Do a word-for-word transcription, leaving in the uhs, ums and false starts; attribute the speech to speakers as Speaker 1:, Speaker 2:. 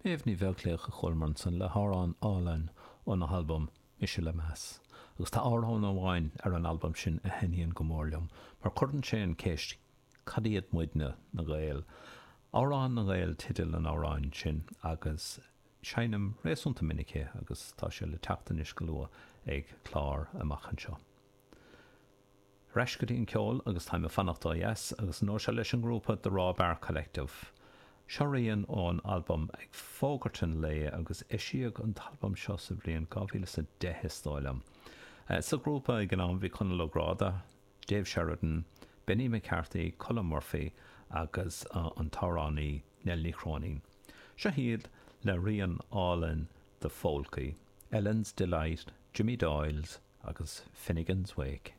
Speaker 1: Méabh Ní Bheaglaoich a chualamar ansan le hamhrán álainn óna halbam Mise le Meas. Agus tá amhrán amháin ar an albam sin a thaitníonn go mór liom, mar cuireann sé an ceist cad iad muidne na Gaeil. Amhrán na nGael teideal an amhráin sin agus seinnim réasúnta minic é agus tá sé le teacht anois go luath ag clár amach anseo. Ar ais go dtí an ceol agus táim ag fanacht ó dheas agus an uair seo leis an ngrúpa The Raw Bar Collective. Seo rian ón albam ag fógairt an lae agus eisíodh an t-albam seo sa bhliain dhá mhíle is a deich is dóigh liom. Sa ghrúpa ag an am bhí Conall Ó Gráda, Dave Sheridan, Benny McCarthy, Colm Murphy agus an t-amhránaí Nell Ní Chróinín. Seo iad le rian álainn de pholcaí, Ellen's Delight, Jimmy Doyle's agus Finnegan's Wake.